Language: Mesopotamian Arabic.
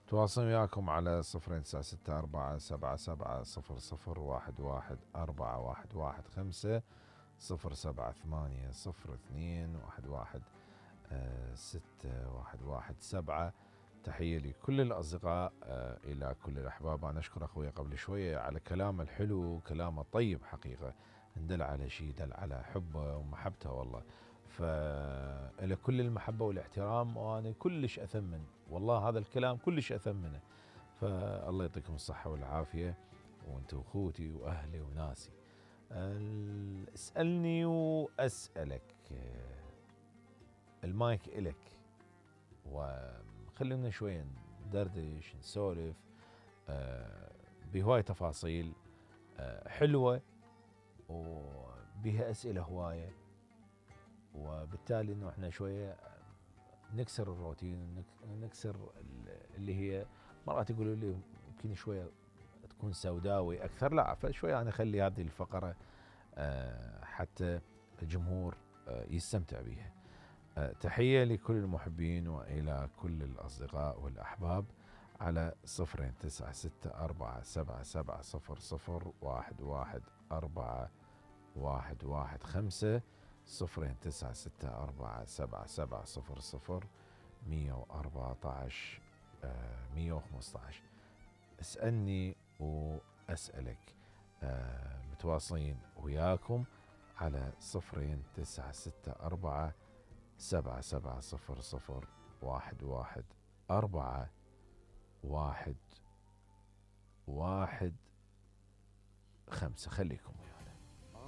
تواصل وياكم على 096477000115 07802116117. تحية لكل الأصدقاء، إلى كل الأحباب. أنا أشكر أخوي قبل شوية على كلامه الحلو، كلامه الطيب حقيقة، دل على شيء، دل على حبه ومحبته والله. فإلى كل المحبة والاحترام، وأنا كلش أثمن والله هذا الكلام، كلش أثمنه. فالله يعطيكم الصحة والعافية، وأنتم أخوتي وأهلي وناسي. اسألني وأسألك، المايك إلك، وخلينا شوية ندردش نسولف بهواية تفاصيل حلوة، وبها أسئلة هواية، وبالتالي إنه إحنا شوية نكسر الروتين، نكسر اللي هي مرات يقولوا لي يمكن شوية تكون سوداوي أكثر، لا، فشوية أنا أخلي هذه الفقرة حتى الجمهور يستمتع بها. تحية لكل المحبين وإلى كل الأصدقاء والأحباب على 096477001115 0964777000115. اسألني وأسألك. متواصلين وياكم على 096477001115. خليكم وياي.